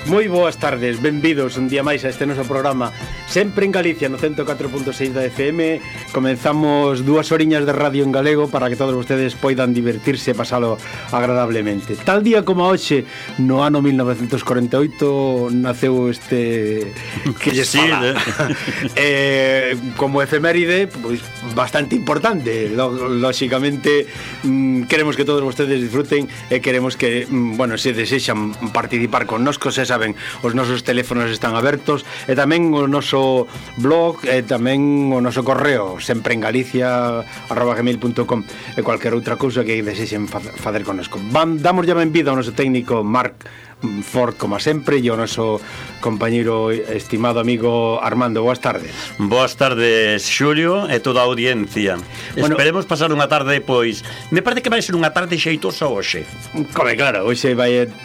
Moi boas tardes, benvidos un día máis a este noso programa Sempre en Galicia, no 104.6 da FM. Comenzamos 2 horiñas de radio en galego para que todos vostedes poidan divertirse e pasalo agradablemente. Tal día como hoxe, no ano 1948, naceu este que lles fala. Como efeméride, pois bastante importante. Lóxicamente, queremos que todos vostedes disfruten e queremos que, bueno, se desexan participar connosco, se saben, os nosos teléfonos están abertos e tamén o noso blog e tamén o noso correo sempreengalicia@gmail.com e cualquier outra cousa que desexen facer connosco. Damos ya benvida ao noso técnico Marc Ford, como sempre, e o noso compañeiro estimado amigo Armando. Boas tardes. Boas tardes, Xulio, e toda a audiencia. Bueno, esperemos pasar unha tarde, pois me parece que vai ser unha tarde xeitosa hoxe. Claro, hoxe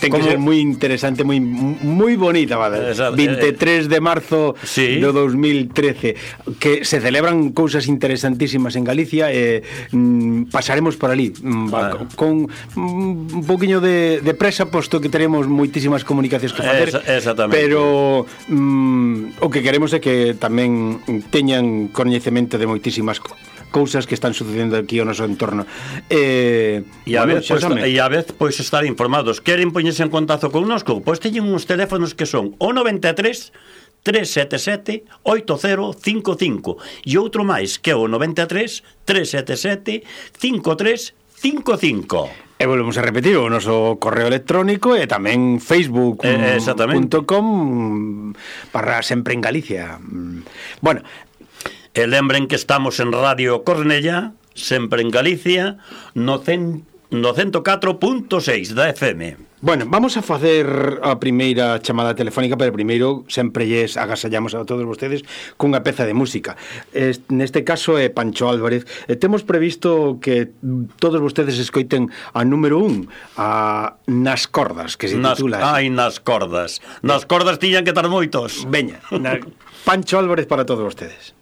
ten que ser moi interesante, moi bonita, vale? 23 de marzo do 2013, que se celebran cousas interesantísimas en Galicia e pasaremos por ali con un poquinho de presa, posto que teremos moitísimas comunicacións que facer. Exactamente. Pero o que queremos é que tamén teñan coñecemento de moitísimas cousas que están sucedendo aquí ao noso entorno. E a vez pois estar informados. Queren poñerse en contacto connosco? Pois teñen uns teléfonos que son o 93 377 8055 e outro máis que é o 93 377 5355. E volvemos a repetir o noso correo electrónico e tamén facebook.com/sempre en Galicia. Bueno, e lembren que estamos en Radio Cornellá, sempre en Galicia, no 104.6 da FM. Bueno, vamos a facer a primeira chamada telefónica, pero primeiro sempre lles agasallamos a todos vostedes cunha peza de música. Neste caso é Pancho Álvarez. Temos previsto que todos vostedes escoiten a número 1, a Nas Cordas, que se titula. Nas Cordas. Nas Cordas tiñan que estar moitos. Veña, Pancho Álvarez para todos vostedes.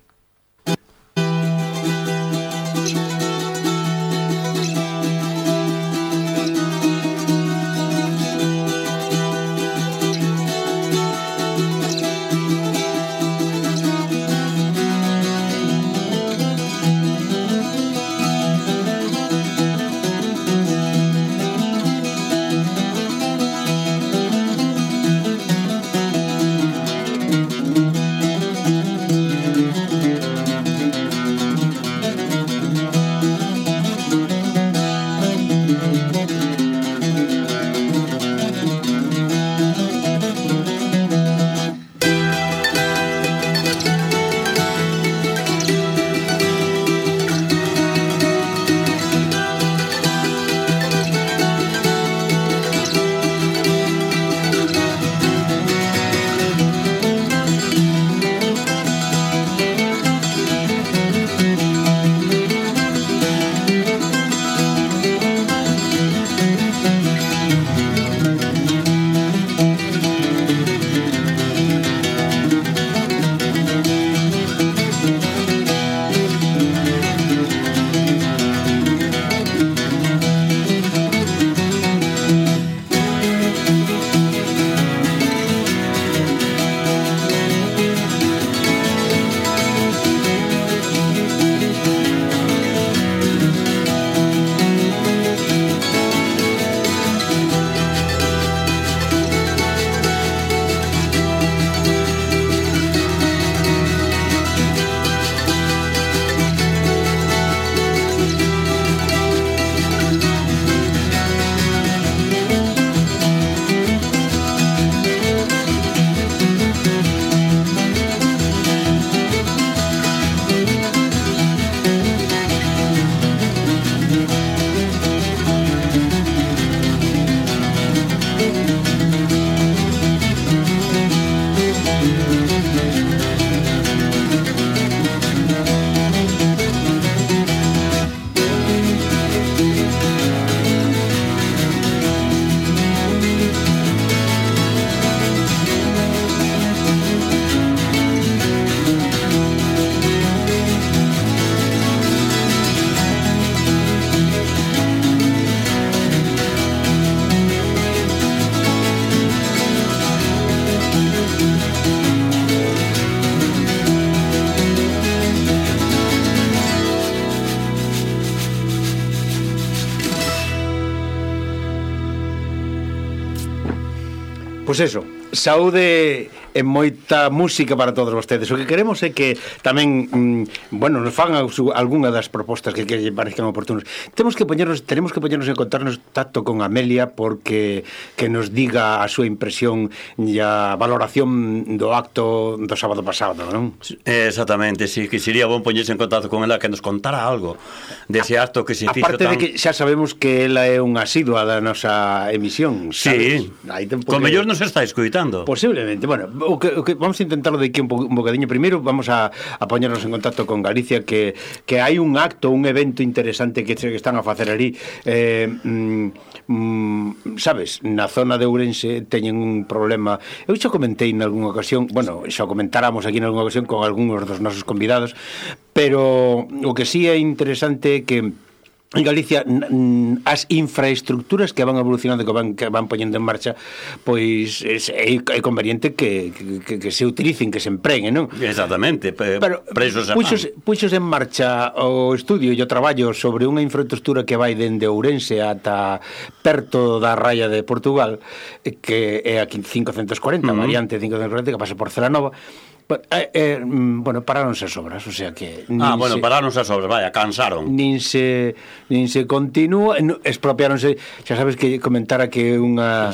Pois eso, saúde e moita música para todos vostedes. O que queremos é que tamén, bueno, nos fan algunha das propostas que lle parezcan oportunos. Tenemos que poñernos en contacto con Amelia porque que nos diga a súa impresión e a valoración do acto do sábado pasado, non? Exactamente, sí, que sería bon poñerse en contacto con ela, que nos contara algo dese acto que se fixo tan... Aparte de que xa sabemos que ela é unha asidua da nosa emisión, sabes? Sí, con mellor nos está escoitando. Posiblemente, bueno, o que vamos a intentarlo de aquí un bocadinho. Primeiro vamos a poñernos en contacto con Galicia, que hai un acto, un evento interesante que están a facer ali, sabes, na zona de Ourense teñen un problema. Eu xa comentei en algunha ocasión, bueno, xa comentáramos aquí en algunha ocasión con algúns dos nosos convidados, pero o que sí é interesante é que en Galicia as infraestructuras que van evolucionando, que van poñendo en marcha, pois é conveniente que se utilicen, que se empreguen, non? Exactamente, pero puxos en marcha o estudio e o traballo sobre unha infraestructura que vai dende Ourense ata perto da raya de Portugal, que é a 540, variante 540, que pasa por Celanova. Bueno, paráronse as obras, o sea que... paráronse as obras, vaya, cansaron. Nin se continúa, expropiáronse, xa sabes que comentara que unha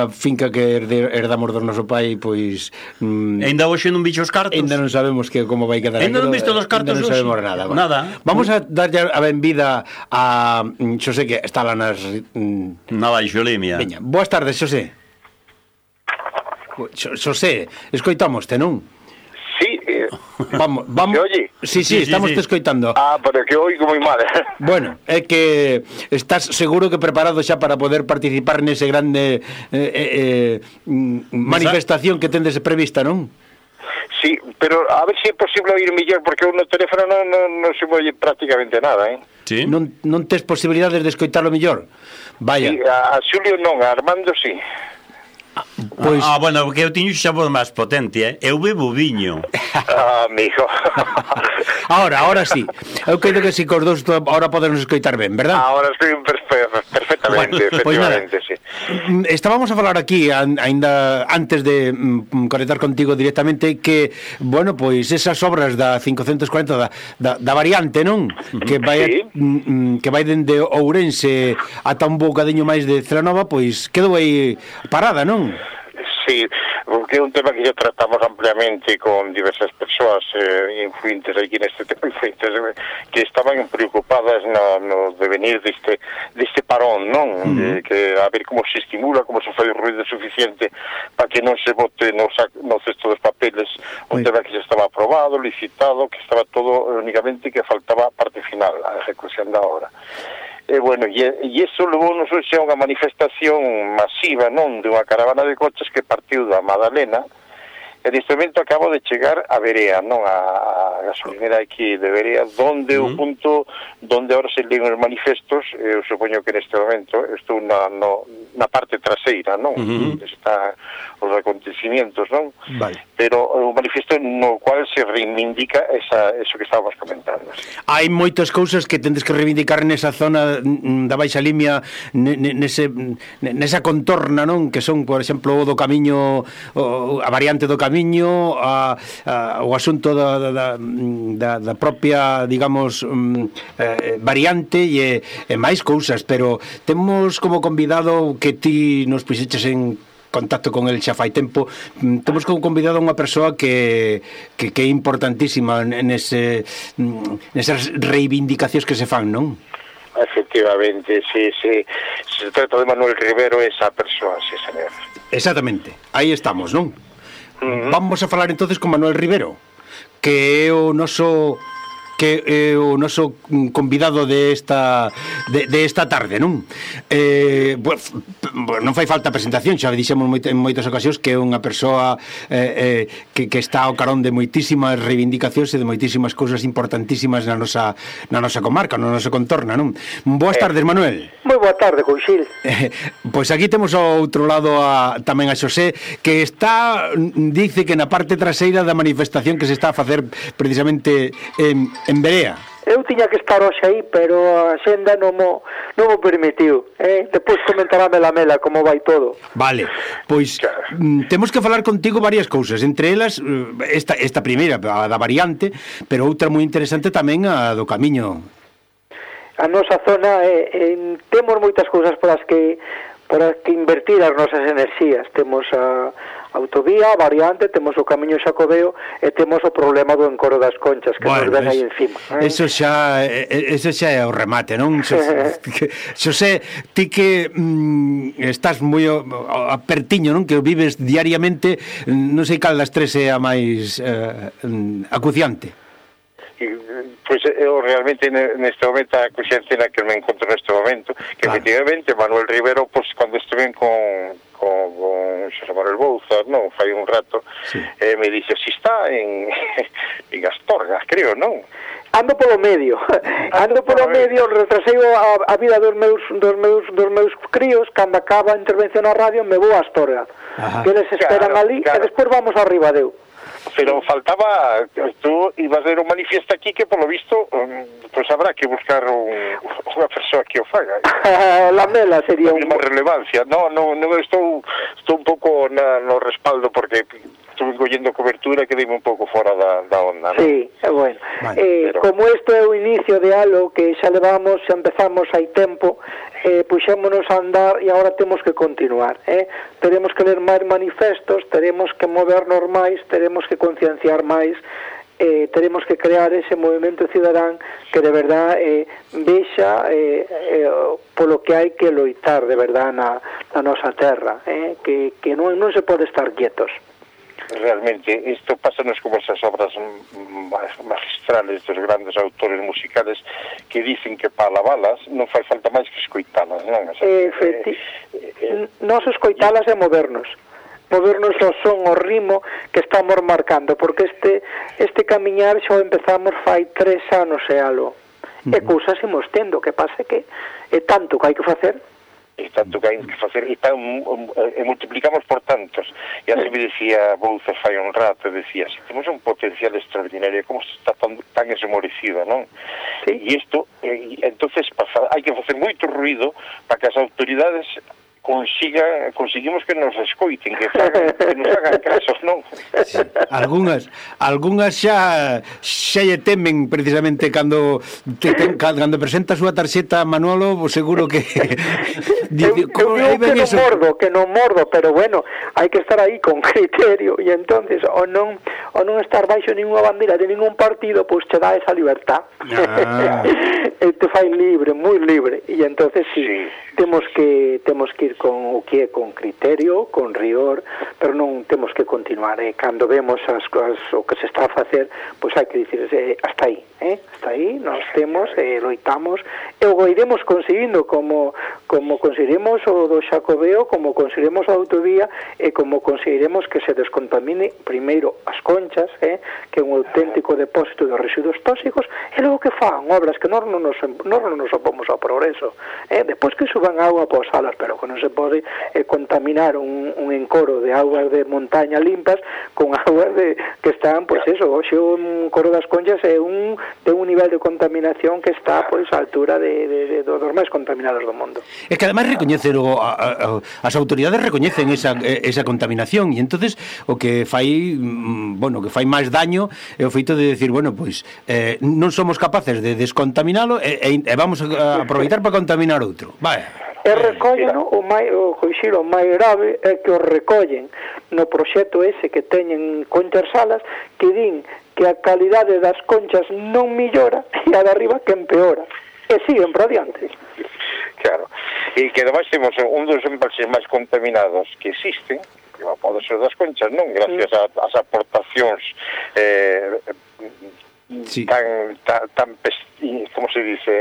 finca que herdamos do noso pai, pois... Ainda hoxe non bicho os cartos? Ainda non sabemos como vai quedar. Ainda non visto os cartos hoxe? Non sabemos nada. Nada. Vamos a darlle a benvida a Xosé, que está lá nas... Na Baixolimia. Veña, boas tardes, Xosé. Xosé, escoitámoste, non? Sí, vamos. ¿Se oye? Sí, estamos te escoitando. Pero que oigo moi mal. Bueno, é que estás seguro que preparado xa para poder participar nese grande manifestación que tendes prevista, non? Sí, pero a ver se é posible oír mellor, porque no teléfono non se oye prácticamente nada, Sí? Non tes posibilidades de escoitarlo mellor? Vaya. Sí, a Xulio non, a Armando sí. Pois... bueno, que eu tiño xa voz máis potente, Eu bebo viño. Amigo. Ahora sí. Eu creo que si cos dous ahora podemos escoitar ben, verdad? Ahora estoy perfectamente, efectivamente, sí. Estábamos a falar aquí aínda antes de conectar contigo directamente que, bueno, pois esas obras da 540 da variante, non? Que vai dende Ourense ata un bocadiño máis de Celanova, pois quedou aí parada, non? Sí, porque é un tema que ya tratamos ampliamente con diversas persoas influentes aquí neste tema, influentes que estaban preocupadas no devenir deste parón, non? Que a ver como se estimula, como se fai o ruido suficiente para que non se bote no cesto dos papeles un tema que xa estaba aprobado, licitado, que estaba todo únicamente que faltaba a parte final, a ejecución da obra. Bueno, e iso levou nos hoxe a unha manifestación masiva, non, de unha caravana de coches que partiu da Madalena, e neste momento acabo de chegar a Verea, non, a gasolinera aquí de Verea, donde o punto donde ahora se leen os manifestos, eu supoño que neste momento estou na parte traseira, non, está os acontecimientos, non? Vale. Pero o manifesto no cual se reivindica eso que estábamos comentando. Hai moitas cousas que tendes que reivindicar nesa zona da Baixa Limia, nesa contorna, non? Que son, por exemplo, o do camiño, a variante do camiño, o asunto da propia, digamos, variante e máis cousas, pero temos como convidado que ti nos puxeches en contacto con el xa fai tempo. Temos como convidado a unha persoa que é importantísima nesas reivindicacións que se fan, non? Efectivamente, sí. Se trata de Manuel Rivero, esa persoa, sí, señor. Exactamente, aí estamos, non? Vamos a falar entonces con Manuel Rivero, que é o noso convidado de esta tarde, non? Non fai falta presentación, xa dixemos en moitas ocasións que é unha persoa que está ao carón de moitísimas reivindicacións e de moitísimas cousas importantísimas na nosa comarca, na nosa contorna, non? Boas tardes, Manuel. Moi boa tarde, Conxil. Pois aquí temos ao outro lado tamén a Xosé, que dice que na parte traseira da manifestación que se está a facer precisamente en Verea. Eu tiña que estar hoxe aí, pero a xenda non mo permitiu. Depois comentarame la Mela como vai todo. Vale, pois temos que falar contigo varias cousas, entre elas esta primeira, a da variante, pero outra moi interesante tamén a do Camiño. A nosa zona temos moitas cousas por as que invertir as nosas enerxías. Temos a autovía, a variante, temos o Camiño Xacobeo e temos o problema do encoro das Conchas que nos ven aí encima. Eso xa é o remate, non? Xosé, ti que estás moi apertiño, non? Que o vives diariamente, non sei cal das tres é a máis acuciante. Pois eu realmente neste momento a acuciante na que me encontro neste momento, que efectivamente Manuel Rivero, pois cando estuve con Xosé Manuel Bouza, non, fai un rato, me dixe, si está en Astorga, creo, non? Ando polo medio, retrasei a vida dos meus críos. Cando acaba a intervención na radio me vou a Astorga, que eles esperan ali e despois vamos a Ribadeo. Pero faltaba, tú ibas a ver un manifiesto aquí que por lo visto pues habrá que buscar unha persoa que o faga. La Mela sería unha relevancia. No, estou un pouco no respaldo porque estuve collendo cobertura que dime un pouco fora da onda, ¿no? Sí, bueno. Pero... como isto é o inicio de algo que xa empezamos hai tempo, puxémonos a andar e agora temos que continuar, teremos que ler máis manifestos, teremos que movernos máis, teremos que concienciar máis, teremos que crear ese movimento cidadán que de verdad vexa polo que hai que loitar de verdad na nosa terra, que non se pode estar quietos. Realmente, isto pásanos como esas obras magistrales dos grandes autores musicales que dicen que para lavalas non fai falta máis que escoitalas, non? Nos escoitalas e movernos ao son, ao ritmo que estamos marcando, porque este camiñar xa empezamos fai 3 anos e algo, e cousas imos tendo, que pase que é tanto que hai que facer, e multiplicamos por tantos. E así me decía Bouza fai un rato, decía, si temos un potencial extraordinario, como está tan esmorecido, non? Sí. E isto, entonces hai que facer moito ruido para que as autoridades conseguimos que nos escoiten, que nos hagan casos, non? Sí. Algunhas xa lle temen precisamente cando presenta a súa tarxeta Manolo, seguro que que non mordo, pero bueno, hai que estar aí con criterio, e entonces o non estar baixo ninguna bandera de ningún partido, pois te dá esa libertad. Te fai libre, moi libre, e entonces sí. Temos que ir con o que é con criterio, con rigor, pero non temos que continuar. Cando vemos as cousas, o que se está a facer, pois hai que dicir hasta aí, nós temos, loitamos, e o iremos conseguindo, como conseguiremos o do Xacobeo, como conseguiremos a autovía, e como conseguiremos que se descontamine primeiro as Conchas, que é un auténtico depósito de residuos tóxicos, e logo que fan obras que nós non nos opomos ao progreso, depois que suban agua para as salas, pero que non se pode contaminar un encoro de aguas de montaña limpas con aguas que están, pois eso, hoxe un encoro das Conchas é de un nivel de contaminación que está pois a altura dos máis contaminados do mundo. É que además recoñecen as autoridades recoñecen esa contaminación, e entonces o que fai máis daño é o feito de decir, bueno, pois non somos capaces de descontaminalo e vamos a aproveitar para contaminar outro. Vaya. E recollen, o máis grave é que o recollen no proxecto ese que teñen Conchas Salas, que din que a calidade das conchas non millora e a de arriba que empeora, e siguen por adiante. Claro, e que ademais temos un dos embalses máis contaminados que existen, que pode ser das Conchas, non? Gracias ás aportacións sí. tan como se dice,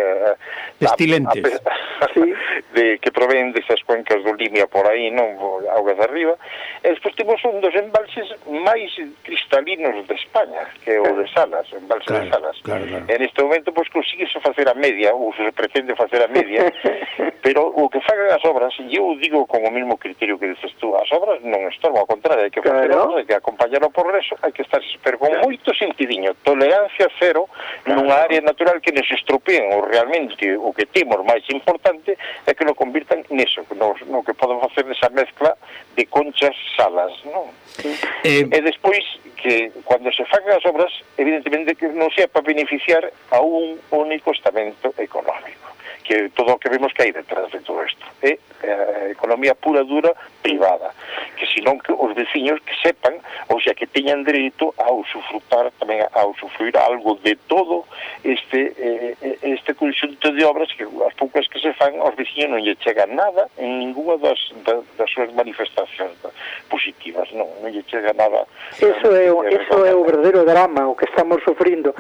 pestilentes sí. que provén desas cuencas do Limia por aí, non, augas de arriba, e despois temos un dos embalses máis cristalinos de España, que é o de Salas, o embalse de Salas. E neste momento, pois, consíguese facer a media, ou se pretende facer a media, pero o que fagan as obras, e eu digo con o mesmo criterio que dices tú, as obras non estorban, ao contrario, hai que facer obras, hai que acompañar o progreso, hai que estar, pero con moito sentidiño, tolerancia cero nunha área natural que nos estropeen, ou realmente o que temos máis importante é que nos convirtan neso, no que poden facer nesa mezcla de conchas salas, non? E despois que cando se fagan as obras, evidentemente que non sea para beneficiar a un único estamento económico, que todo o que vemos que hai detrás de todo isto é economía pura dura privada, que senón que os veciños que sepan, ou sea, que teñan dereito a usufrutar tamén, a usufruir algo de todo este conxunto de obras que as poucas que se fan aos veciños non lle chega nada en ninguna das súas manifestacións positivas, non lle chega nada. Eso é o verdadeiro drama o que estamos sufrindo.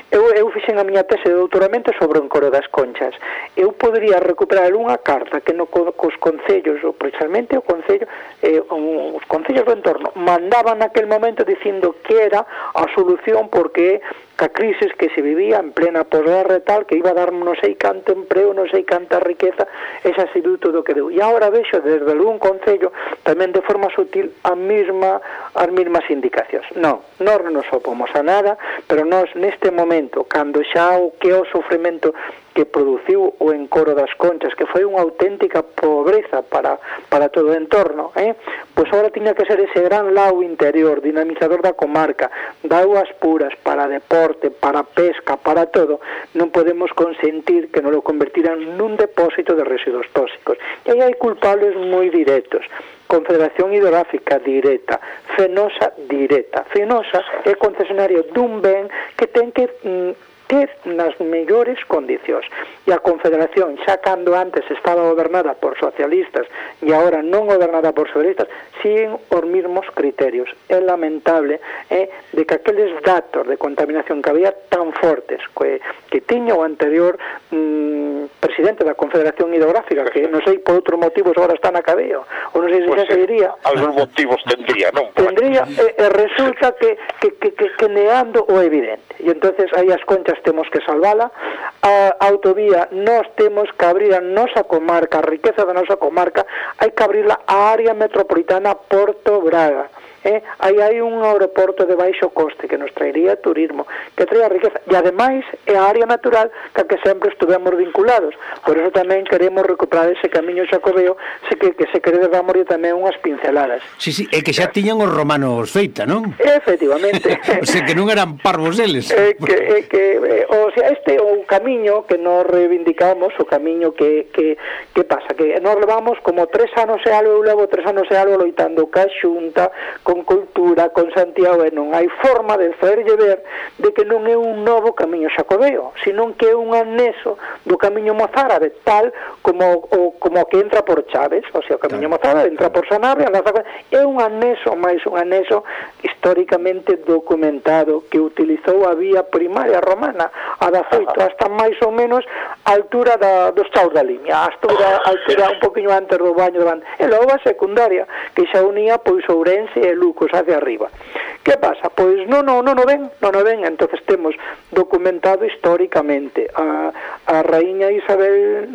Eu fixen a miña tese de doutoramento sobre o Encoro das Conchas. Eu podería recuperar unha carta que cos concellos, ou precisamente os concellos do entorno, mandaban naquel momento dicindo que era a solución porque ca crisis que se vivía en plena posguerra e tal, que iba a dar non sei canto empreo, non sei canta riqueza, esa sido todo o que deu. E agora vexo desde algún concello tamén de forma sutil as mesmas indicacións. Non nos opomos a nada, pero nós neste momento, cando xa o que é o sofrimento que produciu o Encoro das Conchas, que foi unha auténtica pobreza para todo o entorno, pois agora tiña que ser ese gran lago interior, dinamizador da comarca, da augas puras, para deporte, para pesca, para todo. Non podemos consentir que nos lo convertiran nun depósito de residuos tóxicos. E aí hai culpables moi directos. Confederación Hidrográfica directa, Fenosa directa. Fenosa é concesionario dun ben que ten que ter nas mellores condicións. E a Confederación, xa cando antes estaba gobernada por socialistas e agora non gobernada por socialistas, siguen os mesmos criterios. É lamentable de que aqueles datos de contaminación que había tan fortes que tiña o anterior presidente da Confederación Hidrográfica, que non sei por outros motivos agora está na cadea, ou non sei se xa se diría. Algúns motivos tendría, non? Tendría, e resulta que neando o evidente. E entonces aí as Conchas temos que salvala, a autovía nós temos que abrir a nosa comarca, a riqueza da nosa comarca, hai que abrirla á área metropolitana Porto Braga. Aí hai un aeroporto de baixo coste que nos traería turismo, que trae a riqueza, e ademais é a área natural que sempre estuvemos vinculados. Por eso tamén queremos recuperar ese camiño xacobeo, que se quere damos tamén unhas pinceladas. Sí, é que xa tiñan os romanos feita, non? Efectivamente. O sea, que non eran parvos eles. O sea, este é o camiño que nos reivindicamos, o camiño que pasa, que nos levamos como 3 anos e algo, eu levo 3 anos e algo loitando ca Xunta, con Cultura, con Santiago, e non hai forma de facerlle ver de que non é un novo camiño xacobeo, senón que é un anexo do camiño mozárabe, tal como que entra por Chaves, o sea, o camiño mozárabe entra por Sanabria, é un anexo, máis un anexo históricamente documentado que utilizou a vía primaria romana, a da Foito, hasta máis ou menos a altura dos Chaos da Limia, a altura un poquinho antes do baño de banda, e logo a secundaria, que xa unía pois Ourense e Lucos hacia arriba. Que pasa? Pois non ven, entonces temos documentado históricamente a raíña Isabel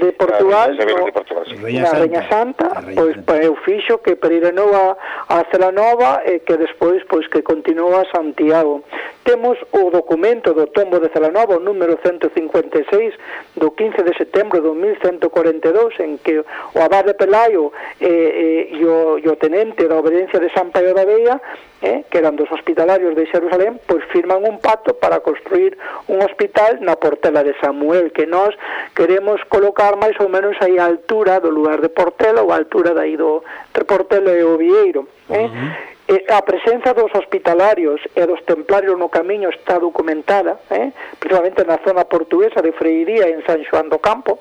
de Portugal, a Raíña Santa, pois eu fixo que peregrinou a Celanova e que despois pois que continuou a Santiago. Temos o documento do tombo de Celanova, o número 156 do 15 de setembro do 1142, en que o abade Pelayo e o tenente da obediencia de San Paio da Vella, que eran dos hospitalarios de Xerusalén, pois firman un pacto para construir un hospital na Portela de Samuel, que nós queremos colocar máis ou menos aí a altura do lugar de Portela, ou a altura dai do Portela e o Vieiro. A presenza dos hospitalarios e dos templarios no camiño está documentada, principalmente na zona portuguesa de Freiría en San Xoán do Campo.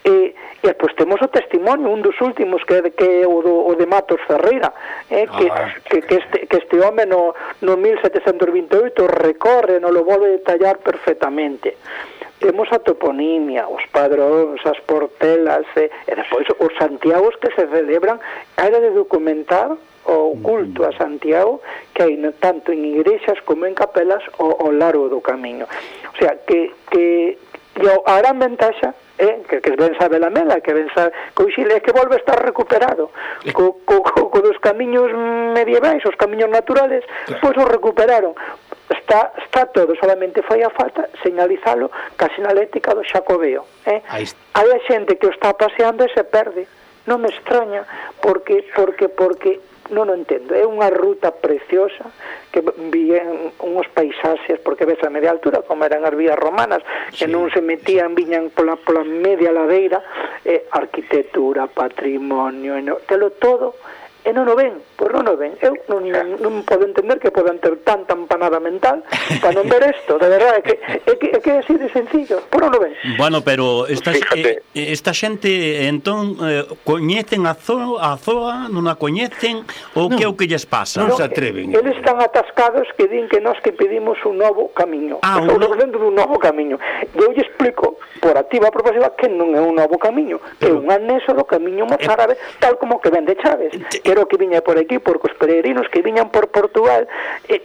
E pois temos o testimonio, un dos últimos que é o de Matos Ferreira, que este home no 1728 recorre, non lo volve detallar perfectamente. temos a toponimia, os padróns, as portelas, e depois os Santiagos que se celebran, era de documentar o culto a Santiago que hai tanto en igrexas como en capelas ao largo do camiño. O sea, que a gran ventaxa que ven sabe la mela, que ven sabe que o Xile é que volve a estar recuperado co dos camiños medievais, os camiños naturales, pois os recuperaron. Está todo, solamente fai a falta señalizalo ca sinalética do Xacobeo. Hai a xente que o está paseando e se perde. Non me extraña, porque non o entendo. É unha ruta preciosa que vían unhos paisaxes, porque ves a media altura, como eran as vías romanas, que non se metían, viñan pola media ladeira, arquitectura, patrimonio, telo todo, e non o ven, pois non o ven. Eu non podo entender que podan ter tanta empanada mental para non ver isto, de verdade, é que é así de sencillo, pois non o ven. Bueno, pero esta xente, entón, coñecen a zoa, non a coñecen, ou que é o que lles pasa? Non se atreven. Eles están atascados que din que nós que pedimos un novo camiño, o dentro dun novo camiño. Eu lle explico, por activa por pasiva, que non é un novo camiño, é un anexo do camiño mozárabe, tal como que ven de Chaves, que que viña por aquí, porque os peregrinos que viñan por Portugal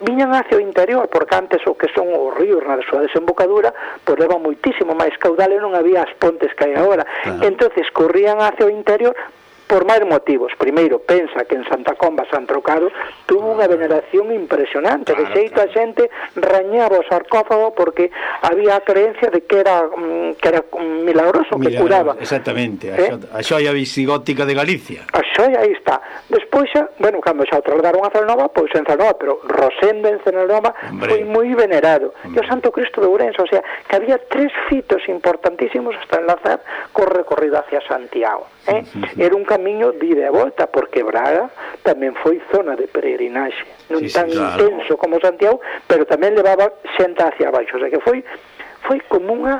viñan hacia o interior, porque antes o que son os ríos na súa desembocadura pois levan moitísimo máis caudal e non había as pontes que hai agora, entonces corrían hacia o interior por máis motivos. Primeiro, pensa que en Santa Comba, San Trocado, tuvo unha veneración impresionante, de xeito a xente rañaba o sarcófago porque había a creencia de que era milagroso, que curaba. Exactamente, a xoia visigótica de Galicia. A xoia, aí está. Despois xa, bueno, cando xa o trasladaron a Celanova, pois en Celanova, pero Rosendo en Celanova foi moi venerado. E o Santo Cristo de Ourense, o sea, que había 3 fitos importantísimos hasta enlazar co recorrido hacia Santiago. Era un camiño de ida e volta, porque Braga tamén foi zona de peregrinaxe, non tan intenso como Santiago, pero tamén levaba xente hacia abaixo, o sea que foi como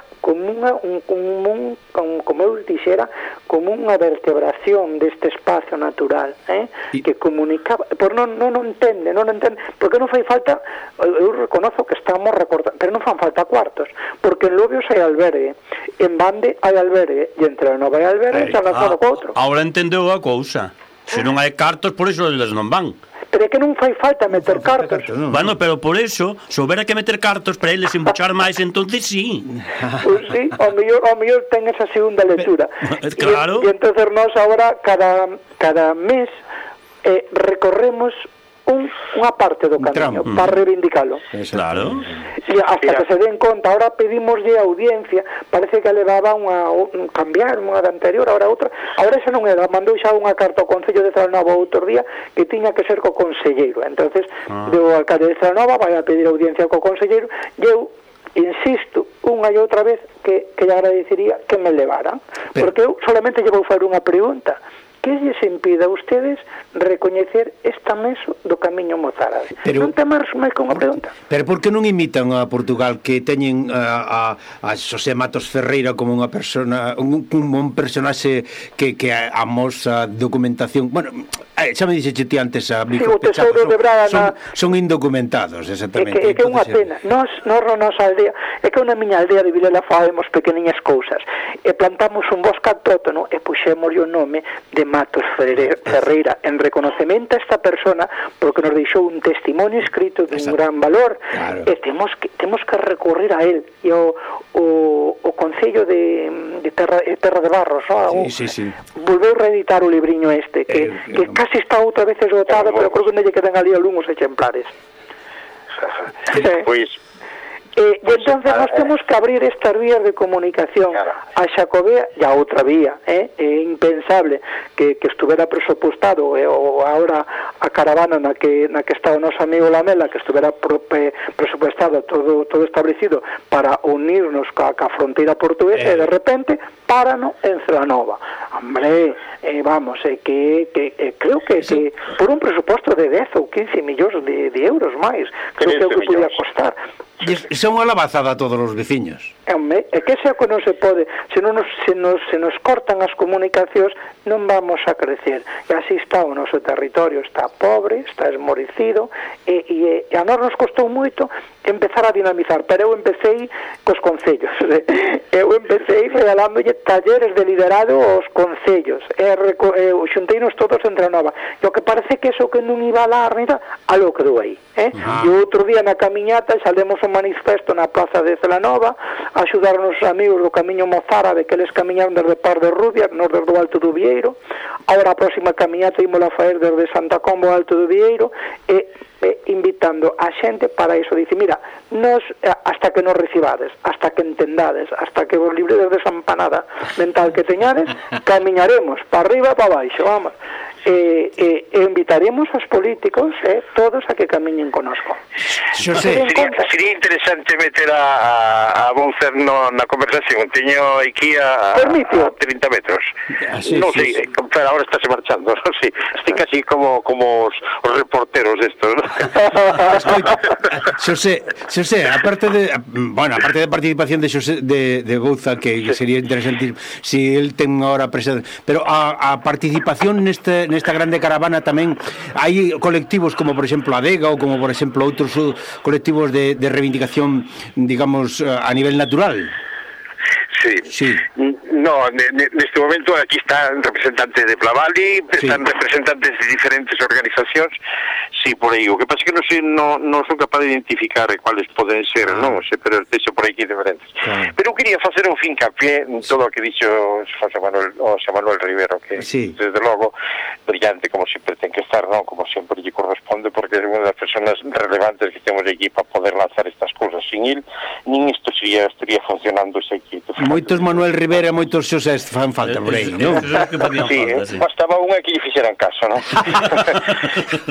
eu dixera, como unha vertebración deste espacio natural, que comunicaba, por non entende, porque non fai falta, eu reconozo que estamos recordando, pero non fan falta cuartos, porque en Lobios hai albergue, en Bande hai albergue, e entre non hai albergue, xa lanzado co outro. Ahora entendeu a cousa, se non hai cartos, por iso eles non van. Pero é que non fai falta meter cartos. Bueno, pero por eso, se houbera que meter cartos para eles embuchar máis, entonces sí. Pois sí, ao mellor ten esa segunda lectura. Claro. E entonces nós agora, cada mes, recorremos unha parte do camiño para reivindicalo. Claro. E hasta que se den conta, ahora pedimoslle audiencia, parece que levaba cambiar unha da anterior, ahora outra, agora xa non era, mandou xa unha carta ao Concello de Celanova outro día que tiña que ser co conselleiro, entonces o alcalde de Celanova vai a pedir audiencia co conselleiro, e eu insisto unha e outra vez que lle agradecería que me levaran, porque eu solamente lle vou fazer unha pregunta: que lles impida a ustedes recoñecer esta meso do camiño mozárabe? Non te máis con unha pregunta. Pero por que non imitan a Portugal, que teñen a Xosé Matos Ferreira como unha persona, un personaxe que amosa documentación? Bueno, xa me dixeche ti antes, amigo, o tesouro de Braga son indocumentados, exactamente. É que é unha pena. Nos nosa aldea, é que na miña aldea de Vilela fazemos pequeniñas cousas, e plantamos un bosque autóctono e puxémoslle o nome de Matos Ferreira en reconocemento a esta persona, porque nos deixou un testimonio escrito de un gran valor, e temos que recurrir a él, e o Concello de Terra de Barros, volveu reeditar o libriño este, que casi está outra vez esgotado, pero creo que non lle quedan ali algúns exemplares. Pois e entonces nós temos que abrir estas vías de comunicación a Xacobea e a outra vía, é impensable que estuvera presupostado, ou agora a caravana na que está o noso amigo Lamela, que estuvera presupostado todo establecido para unirnos ca fronteira portuguesa, e de repente párano en Celanova. Hombre, vamos, que creo que por un presuposto de 10 ou 15 millóns de euros máis, creo que é o que podía costar. Son unha lavazada a todos os veciños. É que ese é o que non se pode. Se nos cortan as comunicacións, non vamos a crecer. E así está o noso territorio, está pobre, está esmorecido, e a nós nos costou moito empezar a dinamizar, pero eu empecé cos concellos. Eu empecé regalándolle talleres de liderado aos concellos, xunteinos todos entre a nova. E o que parece que eso que non iba a dar, algo quedou aí. E outro día na camiñata salemos un manifesto na plaza de Celanova, axudaron os amigos do Camiño Mozárabe, que eles camiñaron desde Par de Rubia, nos desde o Alto do Vieiro. Agora a próxima camiñata ímola a faer desde Santa Comba ao Alto do Vieiro, e invitando a xente para iso. Dice, mira, nos, hasta que nos recibades, hasta que entendades, hasta que vos libredes desa empanada mental que teñades, camiñaremos para arriba e para baixo, vamos. E invitaremos aos políticos todos a que camiñen conosco. Sería interesante meter a Boucer na conversación. Teño aquí a 30 metros. Non sei, pero ahora estáse marchando, non sei. Estoy casi como os reporteros estos, ¿no? Xosé, aparte de participación de Xosé de Bouza, que sería interesantísimo si él ten ahora presente, pero a participación nesta grande caravana tamén hai colectivos como por exemplo Adega ou como por exemplo outros colectivos de reivindicación, digamos, a nivel natural. Sí. No, neste momento aquí están representantes de Plavali, están representantes de diferentes organizacións. Sí, por aí. O que pasa é que non son capaz de identificar cuáles poden ser, non sei, pero deixo por aquí diferentes. Pero eu quería facer un fincapié en todo o que dixo José Manuel Rivero, que desde logo brillante, como sempre ten que estar, non? Como sempre lle corresponde, porque é unha das personas relevantes que temos aquí para poder lanzar estas cousas. Sin il, nin isto estaría funcionando ese aquí. Moitos Manuel Rivera e moitos Xosé fan falta por aí, non? Sí, bastaba unha que lle fixeran caso, non?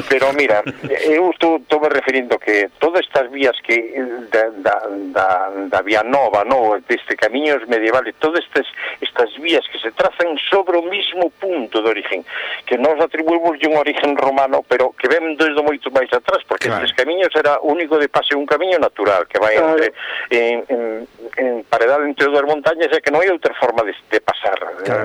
Pero mira, eu estou me referindo que todas estas vías que da vía nova, non? Deste camiños medievales, todas estas vías que se trazan sobre o mismo punto de origen, que nós atribuímos un origen romano, pero que ven desde moito máis atrás, porque estes camiños era único de pase un camiño natural, que vai en paredade entre dúas montañas, e que non hai outra forma de pasar.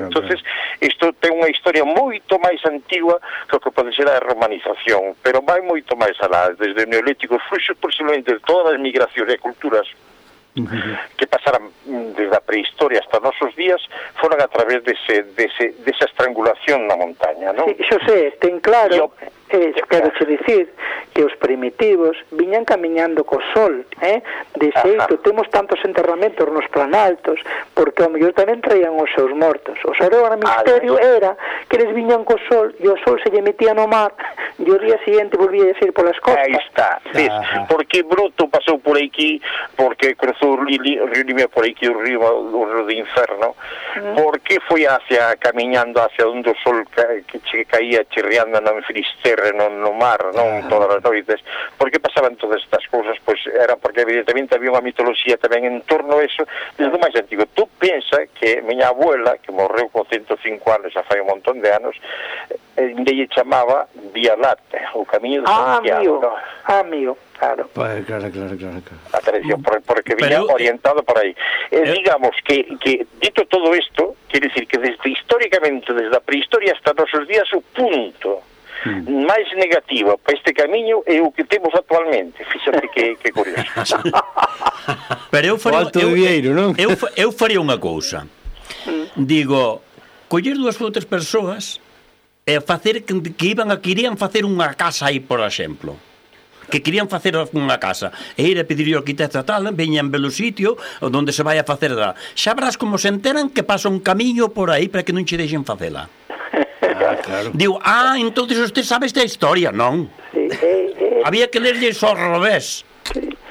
Entonces, isto ten unha historia moito máis antigua que o que pode ser a romanización, pero vai moito máis alá, desde o Neolítico, fluxos posiblemente de todas as migracións e culturas que pasaran desde a prehistoria hasta nosos días, foran a través desa estrangulación na montaña, non? Sí, Xosé, ten claro, quero che dicir que os primitivos viñan camiñando co sol, de xeito, temos tantos enterramentos nos planaltos, porque ao mellor tamén traían os seus mortos. O seu misterio era que eles viñan co sol e o sol se lle metía no mar e o día siguiente volvía a ir polas costas. Aí está, porque Bruto pasou por aquí, porque cruzou o río Limia por aquí, o río de Inferno, porque foi camiñando hacia onde o sol que caía chirriando no Finisterre, no mar, non todas as noites. Por que pasaban todas estas cousas? Pois era porque evidentemente había unha mitoloxía tamén en torno a eso desde o máis antigo. Tú pensa que miña abuela, que morreu con 105 anos, xa fai un montón de anos, lle chamaba Vía Láctea, o camiño de Santiago. Mío. Claro. Claro. Atención, porque viña orientado por aí. Digamos que dito todo isto, quere decir que desde históricamente, desde a prehistoria hasta nosos días, o punto máis negativo para este camiño é o que temos actualmente. Fíxate que curioso. Pero eu faría unha cousa. Digo, coller dúas ou tres persoas e facer que querían facer unha casa aí, por exemplo, que querían facer unha casa e ir a pedir ao arquitecto tal, veñan pelo sitio onde se vai a facer xa verás como se enteran que pasa un camiño por aí para que non che deixen facela. Claro. Digo, entonces usted sabe esta historia, non? Había que lerlle só ao revés.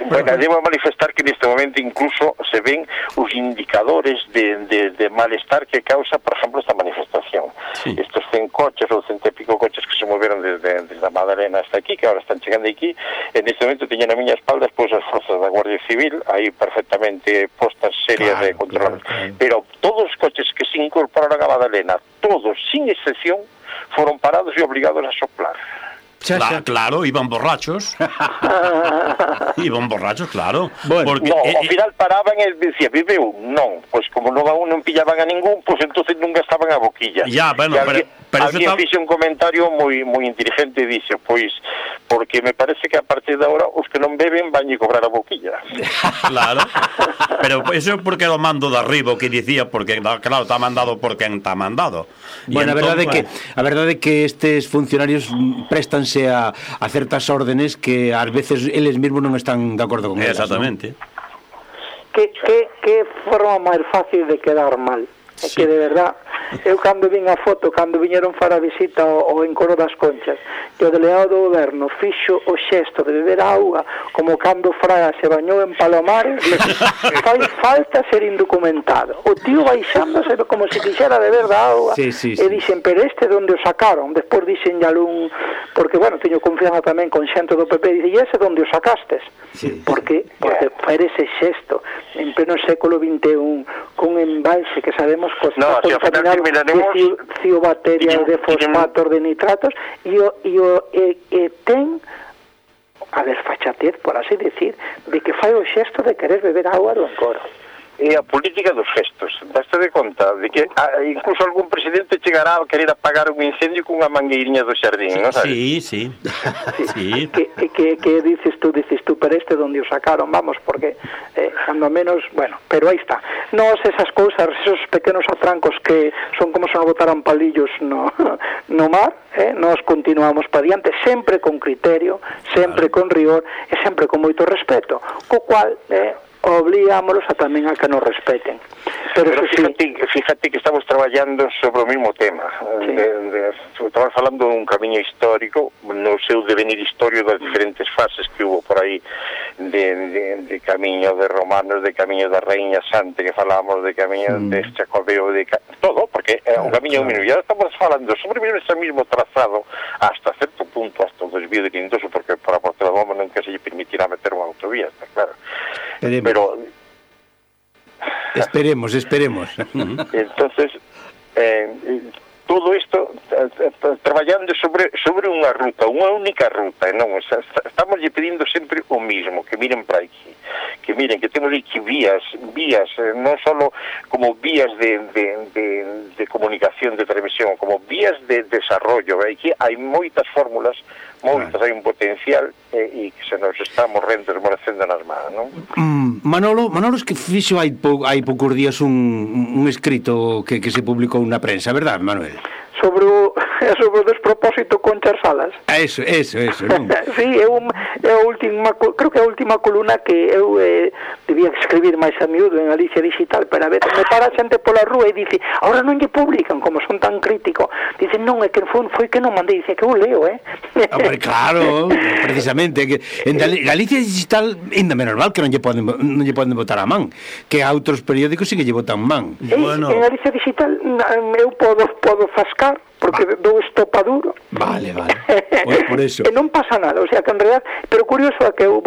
Bueno, debo manifestar que neste momento incluso se ven os indicadores de malestar que causa, por exemplo, esta manifestación. Estos 100 coches ou 100 e pico coches que se moveron desde a Madalena hasta aquí, que ahora están chegando aquí, en este momento teñen a miña espalda as forzas da Guardia Civil aí perfectamente postas serias de control. Pero todos os coches que se incorporaron a Madalena, todos, sin excepción, foron parados e obligados a soplar. Claro, iban borrachos. Iban borrachos, claro. Porque, ao final paraban e decía, viveu? Non. Pois como non pillaban a ningún, pois entonces non gastaban a boquilla. Alguén fixe un comentario moi inteligente e dixe, pois, porque me parece que a partir de agora os que non beben van a cobrar a boquilla. Claro. Pero eso é porque era o mando de arriba o que dicía, porque claro, está mandado por quen está mandado. Bueno, a verdade é que estes funcionarios préstanse a certas órdenes que ás veces eles mesmos non están de acordo con elas. Exactamente. Que forma máis fácil de quedar mal. É que de verdad, eu cando vin a foto, cando viñeron para a visita ao Encoro das Conchas, que o delegado do goberno fixo o xesto de beber auga como cando Fraga se bañou en Palomares, fai falta ser indocumentado. O tío baixándose como se quixera beber da auga, e dixen, pero este donde o sacaron? Despois dixen algún, porque, bueno, teño confianza tamén con xente do PP, e ese donde o sacastes? Porque fai ese xesto en pleno século XXI, cun embalse que sabemos está contaminado de ciobacterias, de fosfatos, de nitratos, e ten a desfachatez, por así decir, de que fai o xesto de querer beber agua do Encoro. É a política dos gestos. Daste de conta de que incluso algún presidente chegará a querer apagar un incendio cunha mangueirinha do xardín, non sabes? Sí. Que dices tú, pero este donde o sacaron, vamos, porque cando menos, bueno, pero aí está. Nos esas cousas, esos pequenos atrancos que son como se nos botaran palillos no mar, nos continuamos para diante, sempre con criterio, sempre con rigor e sempre con moito respeto, co cual obligámonos a tamén a que nos respeten. Pero fíjate que estamos traballando sobre o mesmo tema. Estamos falando dun camiño histórico, no seu devenir histórico das diferentes fases que hubo por aí, de camiño de romanos, de camiño da Raíña Santa, que falábamos de camiño de Chacobeo, de todo, porque é un camiño mismo. E ahora estamos falando sobre ese mismo trazado hasta certo punto, hasta o desvío de Quintoso, porque para Portela nunca se lle permitirá meter unha autovía, está claro. Esperemos. Entonces, todo isto traballando sobre unha ruta, unha única ruta, non, estamos lle pedindo sempre o mismo, que miren para aquí, que miren que temos aquí vías, non só como vías de comunicación, de televisión, como vías de desarrollo. Aquí hai moitas fórmulas, hai un potencial e que se nos está morrendo, desmorecendo nas mans, non? Manolo es que fixo hai poucos días un escrito que se publicou na prensa, verdad, Manuel? Sobre o despropósito con Salas. Eso, non? Sí, creo que a última columna que eu debía escribir máis a miúdo en Galicia Digital, pero a veces me para xente pola rúa e dice, ahora non lle publican, como son tan críticos, dicen, non, é que foi que non mandei, dice que eu leo, Hombre, claro, precisamente, que en Galicia Digital ainda menos mal que non lle poden votar a man, que a outros periódicos sí que lle votan man. En Galicia Digital eu podo fascar, porque dou estopa duro. Vale. Por eso. E non pasa nada, o sea que en realidad, pero curioso é que eu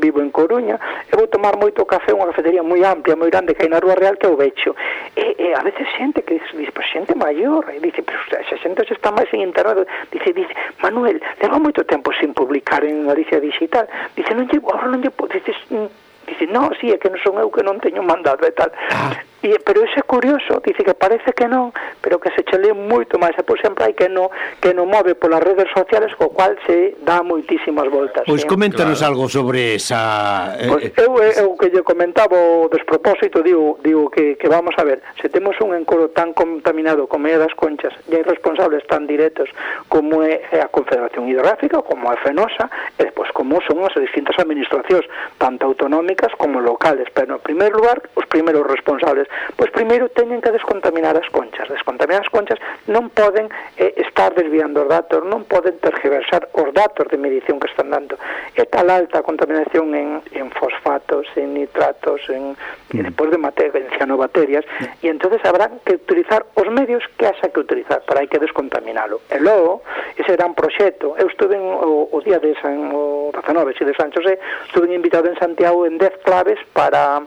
vivo en Coruña, e vou tomar moito café, unha cafetería moi amplia, moi grande que hai na Rúa Real, que é o Becho. E a veces xente que dice, pues xente maior, e dice, pero xa xente se está máis en internet, dice, Manuel, leva moito tempo sin publicar en Galicia Digital, dice, ahora non lle dice, no, sí, é que non son eu que non teño mandado e tal. Pero ese é curioso, dice que parece que non, pero que se chele moito máis, e por sempre hai que non move polas redes sociales, co cual se dá moitísimas voltas. Pois coméntanos algo sobre esa... Eu que lle comentaba o despropósito, digo que vamos a ver, se temos un Encoro tan contaminado como é das Conchas, e hai responsables tan directos como é a Confederación Hidrográfica, como é Fenosa, e despois como son as distintas administracións, tanto autonómicas como locales, pero en primeiro lugar, os primeiros responsables, pois primeiro teñen que descontaminar as Conchas. Descontaminar as Conchas non poden estar desviando os datos, non poden tergiversar os datos de medición que están dando. É tal alta contaminación en fosfatos, en nitratos, e despois de cianobacterias, e entonces habrá que utilizar os medios que haxa que utilizar, para hai que descontaminalo. E logo, ese gran proxecto, eu estuve o día de o 19 de San José, estuve invitado en Santiago en 10 claves para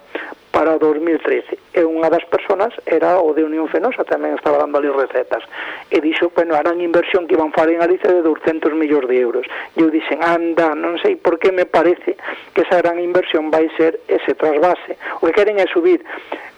para o 2013, e unha das personas era o de Unión Fenosa, tamén estaba dando ali recetas, e dixo, bueno, eran inversión que iban falar en Galicia de 200 millóns de euros, e eu dixen, anda, non sei por que me parece que esa gran inversión vai ser ese trasvase, o que queren é subir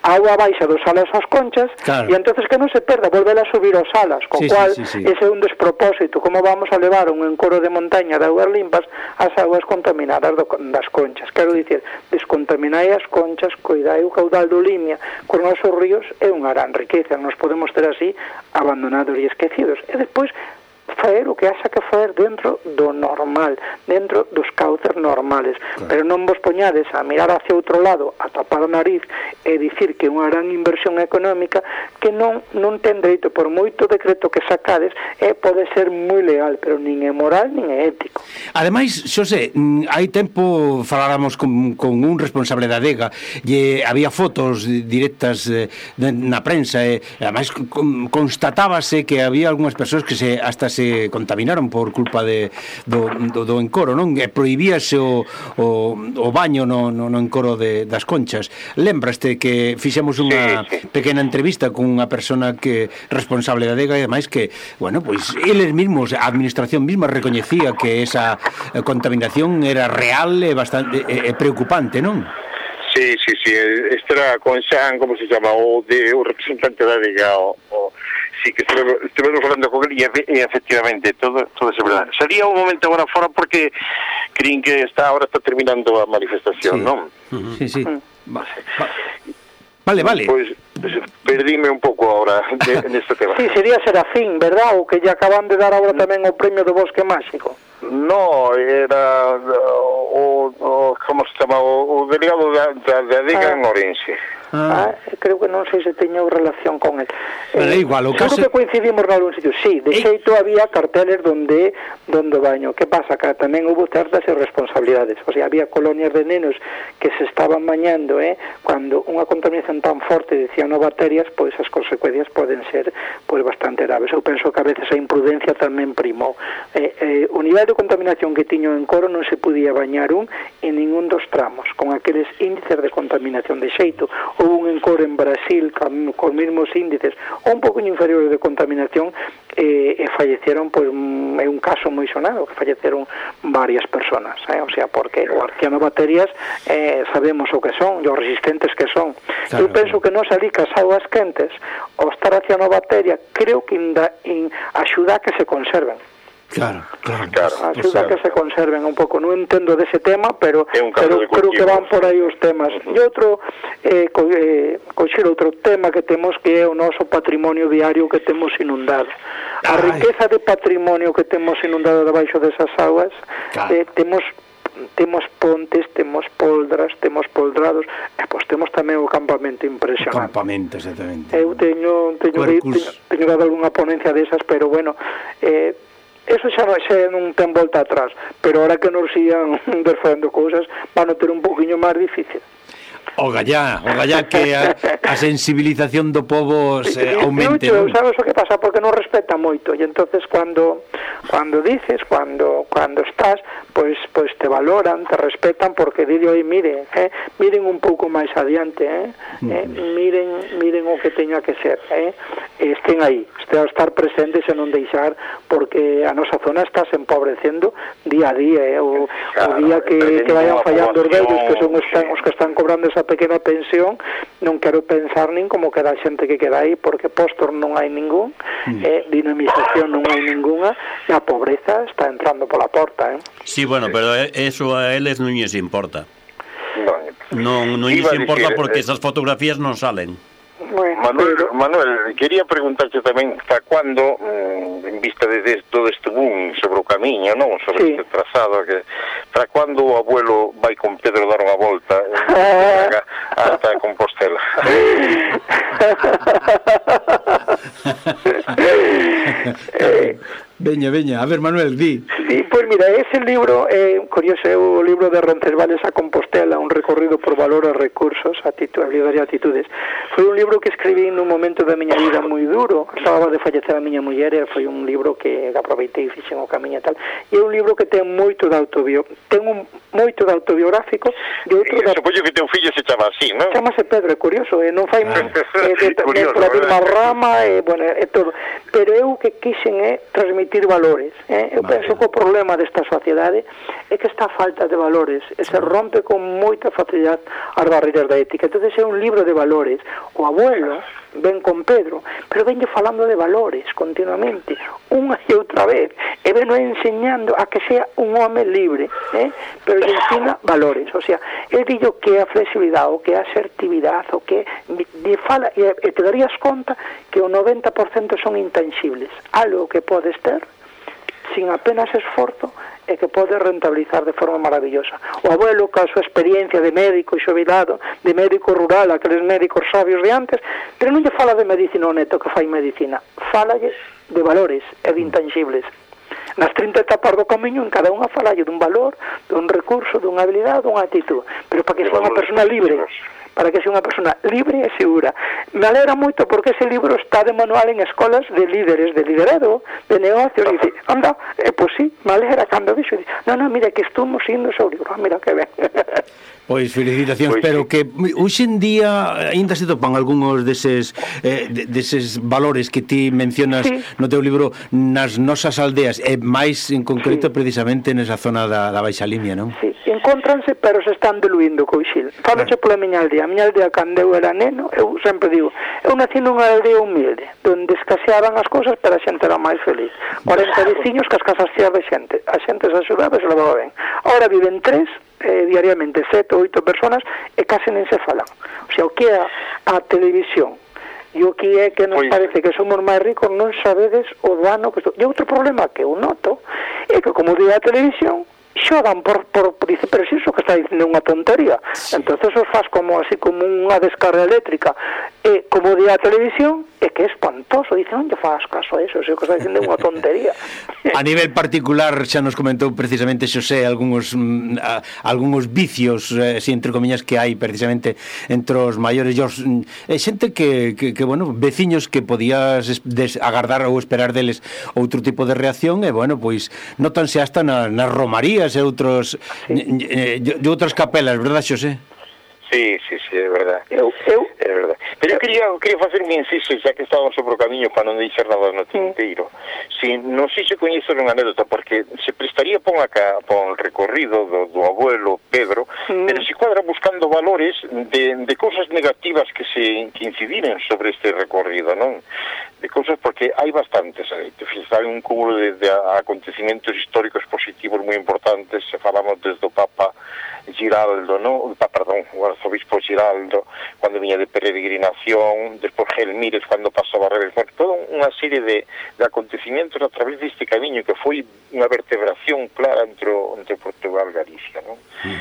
a auga baixa dos Salas aos Conchas, claro. E entonces que non se perda volver a subir aos Salas, co cual ese é un despropósito, como vamos a levar un encoro de montaña de augas limpas ás augas contaminadas das Conchas. Quero dicir, descontaminai as Conchas, coidai o caudal do Limia cos nosos ríos, é unha gran riqueza, nos podemos ter así abandonados e esquecidos, e despois faer o que haxa que faer dentro do normal, dentro dos cauces normales, claro. Pero non vos poñades a mirar hacia outro lado, a tapar o nariz e dicir que é unha gran inversión económica que non ten dereito, por moito decreto que sacades, pode ser moi legal, pero nin é moral nin é ético. Ademais, Xosé, hai tempo faláramos con un responsable da adega e había fotos directas na prensa e ademais constatábase que había algunhas persoas que hasta se contaminaron por culpa do encoro, non? E prohibíase o baño no encoro das Conchas. Lembraste que fixemos unha pequena entrevista con unha persona que responsable da adega e ademais que, bueno, pois eles mesmos, a administración mesma recoñecía que esa contaminación era real e bastante preocupante, non? Sí, este era con Xan, como se chama, o representante da adega, sí, que estivemos falando con él e efectivamente todo é verdade. Sería un momento agora fora porque crin que ahora está terminando a manifestación, non? Sí. Vale. Pois perdíme un pouco agora neste tema. Sí, sería Serafín, verdad? O que lle acaban de dar agora tamén o premio do Bosque Máxico. No, era como se chama, o delegado da adega en Ourense. Creo que non sei se teño relación con él. Pero igual, o caso... Creo que coincidimos nalgún sitio. Sí, de xeito había carteles donde baño. Que pasa? Que tamén houve certas irresponsabilidades. O sea, había colonias de nenos que se estaban bañando, cando unha contaminación tan forte de cianobacterias, pois as consecuencias poden ser pois bastante graves. Eu penso que a veces a imprudencia tamén primou. O nivel de contaminación que tiño en Coro non se podía bañar en ningún dos tramos, con aqueles índices de contaminación de xeito. Houve un encoro en Brasil con mesmos índices ou un pouco inferiores de contaminación e falleceron, pois é un caso moi sonado que falleceron varias personas, o sea, porque as cianobacterias sabemos o que son, os resistentes que son. Claro. Eu penso que non salí cas augas quentes ao estar a cianobacteria, creo que axuda a que se conserven. Claro. Axuda que se conserven un pouco. Non entendo dese tema, pero creo que van por aí os temas. E outro, coxer outro tema que temos, que é o noso patrimonio diario que temos inundado. A riqueza de patrimonio que temos inundado debaixo desas augas, temos pontes, temos poldras, temos poldrados, e pois temos tamén o campamento impresionante. O campamento, exactamente. Eu teño dado algunha ponencia desas, pero bueno, eso xa non ten volta atrás, pero ahora que nos sigan facendo cousas van a ter un poquinho máis difícil. O gallá que a sensibilización do povo se aumente, non? Sabes o que pasa? Porque non respeta moito, e entonces cando dices, cando estás, pois te valoran, te respetan, porque digo, miren un pouco máis adiante, miren o que teña que ser, estén aí, estar presentes e non deixar, porque a nosa zona está se empobrecendo día a día, o día que vayan fallando os vellos, que son os que están cobrando esa pequena pensión, non quero pensar nin como queda a xente que queda aí, porque postor non hai ningún, dinamización non hai ninguna, e a pobreza está entrando pola porta. Sí, bueno, pero eso a eles non lles importa. Non lles importa porque esas fotografías non salen. Bueno, Manuel, quería preguntarte tamén hasta cuándo, en vista de todo este boom sobre o camiño, non? Sobre este trazado, para cuándo o abuelo vai con Pedro dar unha volta hasta Compostela? Veña, a ver, Manuel, di. Sí, pois mira, ese libro, curioso, é o libro de Roncesvalles a Compostela, un recorrido por valores, recursos, habilidades e atitudes. Foi un libro que escribí nun momento da miña vida moi duro, acababa de fallecer a miña muller, e foi un libro que aproveitei e fixen o camiño e tal, e é un libro que ten moito de autobiográfico e outro de... Supoño que teu fillo se chama así, non? Chamase Pedro, é curioso, non fai pola mesma rama, bueno, é todo, pero eu que quixen é transmitir valores, eu penso que o problema desta sociedade é que está a falta de valores e se rompe con moita facilidade as barreiras da ética. Entón é un libro de valores. O abuelo ven con Pedro, pero venlle falando de valores continuamente, unha e outra vez, e ven enseñando a que sea un home libre, pero lle ensina valores. O sea, el dillo que a flexibilidade, o que a asertividade, o que lle fala, e te darías conta que o 90% son intangibles, algo que podes ter sin apenas esforzo e que pode rentabilizar de forma maravillosa. O abuelo, ca súa experiencia de médico xubilado, de médico rural, aqueles médicos sabios de antes, pero non lle fala de medicina o neto que fai medicina, falalle de valores e de intangibles. Nas 30 etapas do camiño, en cada unha falalle dun valor, dun recurso, dunha habilidade, dunha actitud, pero para que sea unha persona libre, para que sea unha persona libre e segura. Me alegra moito porque ese libro está de manual en escolas de líderes, de liderado, de negocios, e dice, anda, pois sí, me alegra cando dixo, non, mira, que estamos indo o seu libro, mira que ben. Pois felicitacións, pero que hoxe en día ainda se topan algúns deses valores que ti mencionas no teu libro nas nosas aldeas, e máis en concreto precisamente nesa zona da Baixa Limia, non? Sí, encontranse, pero se están diluindo, Coixil. Faloche pola miña aldea. A miña aldea, cando eu era neno, eu sempre digo, eu nací nunha aldea humilde, donde escaseaban as cousas, pero a xente era máis feliz. 40 veciños que as casas cheas de xente. A xente se axudaba e se levaba ben. Ahora viven 3, diariamente 7 ou 8 personas, e case nen se falan. O sea, o que é a televisión e o que é que nos parece que somos máis ricos, non sabedes o dano que... E outro problema que eu noto é que, como digo a televisión, xogan por dice, pero si iso que está dicindo unha tontería. Entonces os faz como así como unha descarga eléctrica, e como di a televisión, é que é espantoso, dice, non lle faz caso a eso, se o que está dicindo é unha tontería. A nivel particular xa nos comentou precisamente Xosé algúns vicios, entre comillas, que hai precisamente entre os maiores e os xente que bueno, veciños que podías agardar ou esperar deles outro tipo de reacción, e bueno, pois notanse hasta nas romarías e outras capelas, verdad, Xosé? Sí, é verdad. É verdad. Pero eu quería facer un inciso, xa que estábamos sobre o camiño, para non deixar nada no tinteiro. Si, non sei se coñezo unha anécdota, porque se prestaría pon o recorrido do abuelo Pedro, pero se cuadra buscando valores de cousas negativas que incidiren sobre este recorrido, non? De cousas, porque hai bastantes, hai un cúmulo de acontecimientos históricos positivos moi importantes, se falamos desde o Papa Giraldo, o arzobispo Giraldo, cando viña de peregrinación, despois Gelmírez, cando pasou a Barreres, toda unha serie de acontecimientos a través deste camiño que foi unha vertebración clara entre Portugal e Galicia, non?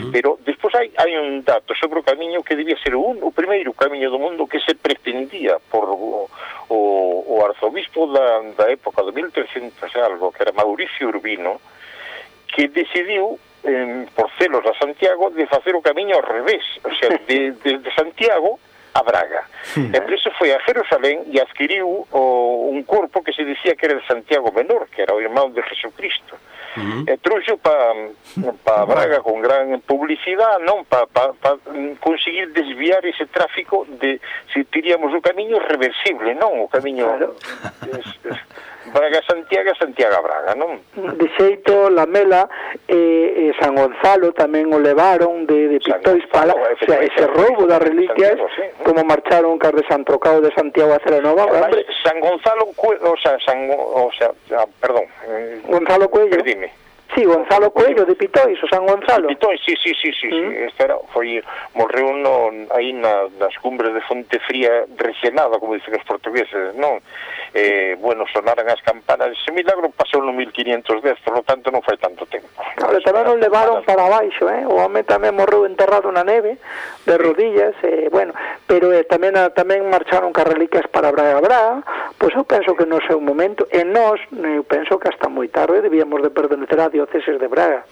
Pero despois hai un dato sobre o camiño que debía ser o primeiro camiño do mundo que se pretendía por o arzobispo da época de 1300 algo, que era Mauricio Urbino, que decidiu por celos a Santiago de facer o camiño ao revés, o sea, de Santiago a Braga. E por iso foi a Jerusalén e adquiriu un corpo que se dicía que era de Santiago Menor, que era o irmão de Jesucristo. E trouxo para Braga con gran publicidade, non, para conseguir desviar ese tráfico de, se diríamos, o camiño reversible, non, o camiño Braga-Santiago, Santiago-Braga, non? De xeito, Lamela e San Gonzalo tamén o levaron de Pistois para, o sea, ese roubo das reliquias, como marcharon cas de San Trocao de Santiago a Celenova. San Gonzalo, perdón, Gonzalo Cuello. Dime. Sí, Gonzalo Coello de Pitóis, o San Gonzalo. Pitóis, sí. Morreu aí nas cumbres de Fonte Fría resenada, como dicen os portugueses, non? Bueno, sonaran as campanas. Ese milagro pasou no 1510, por lo tanto non fai tanto tempo. tamén nos levaron para baixo, o home tamén morreu enterrado na neve, de rodillas, bueno, pero tamén marcharon cas reliquias para Braga, pois eu penso que no seu momento, e nós, eu penso que hasta moi tarde debíamos de pertenecer á dióceses de Braga.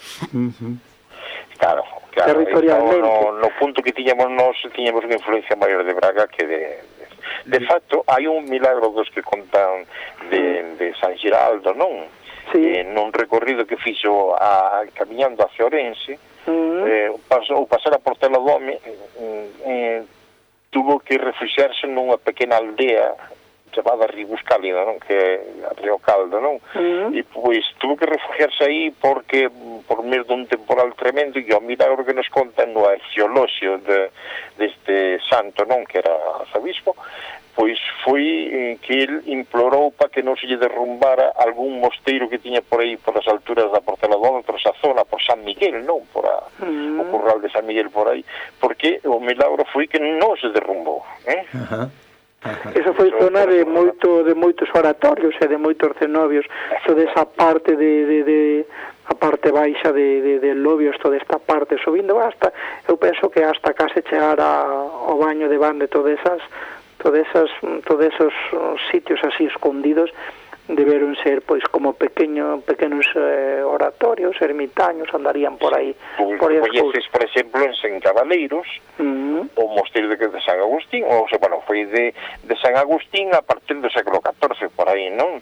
Claro, territorialmente. No punto que tiñamos unha influencia maior de Braga que de facto, hai un milagro dos que contan de San Giraldo, non? Sí. Nun recorrido que fixo camiñando hacia Ourense, ou pasar a Portela do Home, tuvo que refuxiarse nunha pequena aldea chamada Ribuscálida, non? Que é Río Caldo, non? E pois tuvo que refugiarse aí porque por medio dun temporal tremendo, e o milagro que nos contan no arxeoloxio deste santo, non? Que era arzobispo, pois foi que el implorou para que non se lle derrumbara algún mosteiro que tiña por aí, por as alturas da Portela do Home, por esa zona, por San Miguel, non? Por o curral de San Miguel por aí, porque o milagro foi que non se derrumbou, Eso foi zona de moitos oratorios e de moitos cenobios, toda esa parte de a parte baixa de Lobios, toda esta parte subindo hasta, eu penso que hasta case chegar ao baño de Van de todos esos sitios así escondidos deberon ser pois como pequenos oratorios, ermitaños, andarían por aí. Por exemplo, en Cabaleiros, o mosteiro de San Agustín, foi de San Agustín a partir do século XIV, por aí, non?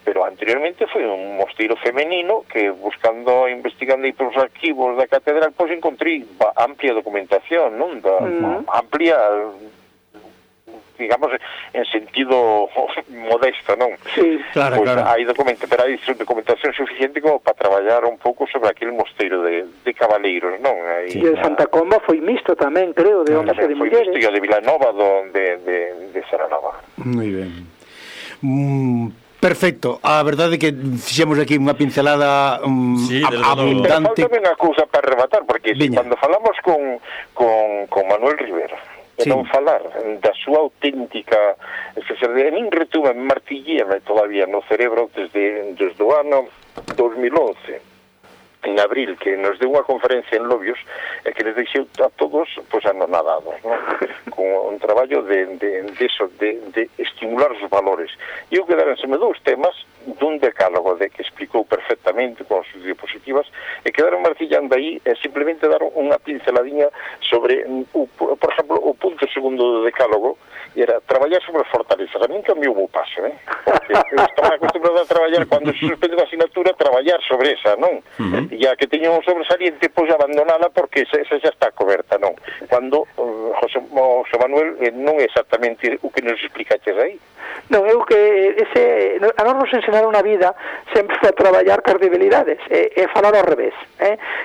Pero anteriormente foi un mosteiro femenino que, investigando aí pelos arquivos da catedral, pois encontrei amplia documentación, non? Amplia, digamos, en sentido modesto, non? Sí, claro, pues, claro. Hai documentación suficiente como para traballar un pouco sobre aquel mosteiro de Cabaleiros, non? E de Santa Comba foi misto tamén, creo, de homes e de mulleres. Foi misto, e o de Vilanova de Saranova. Moi ben. Perfecto, a verdade é que fixemos aquí unha pincelada abundante. Pero falta unha cousa para rematar, porque cando falamos con Manuel Rivera, non falar da súa auténtica especialidade, nin retume, martilleme todavía no cerebro desde o ano 2011, en abril, que nos deu unha conferencia en Lobios e que les deixou a todos anonadados, non? Con un traballo de estimular os valores. E eu quedarenseme dous temas dun decálogo que explicou perfectamente con as diapositivas, e quedaron martillando aí e simplemente daron unha pinceladinha sobre, por exemplo, o punto segundo do decálogo, e era traballar sobre as fortalezas. A min cambiou o paso, porque eu estaba acostumbrado a traballar, cando se suspende a asignatura, traballar sobre esa, non? E a que teña un sobresaliente, pois abandonala porque esa xa está coberta, non? Cando José Manuel non é exactamente o que nos explicaches aí. Non, eu que a nos ensenaron na vida sempre a traballar cas debilidades e falar ao revés,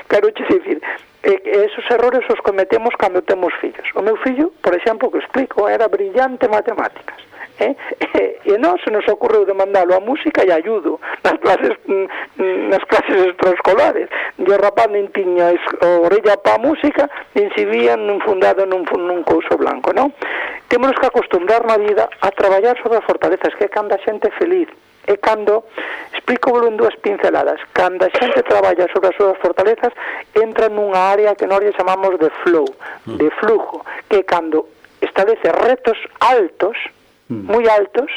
quero dicir, esos errores os cometemos cando temos fillos. O meu fillo, por exemplo, que explico, era brillante en matemáticas, e non se nos ocorreu de mandalo a música e ayudo nas clases extraescolares, e o rapaz nin tiña orella pa música, nin se vían fundado nun couso blanco, non? Temos que acostumbrar na vida a traballar sobre as fortalezas, que é cando a xente feliz, e cando, explico en dúas pinceladas, cando a xente traballa sobre as súas fortalezas, entra nunha área que nós chamamos de flow, de flujo, que é cando establece retos altos, moi altos,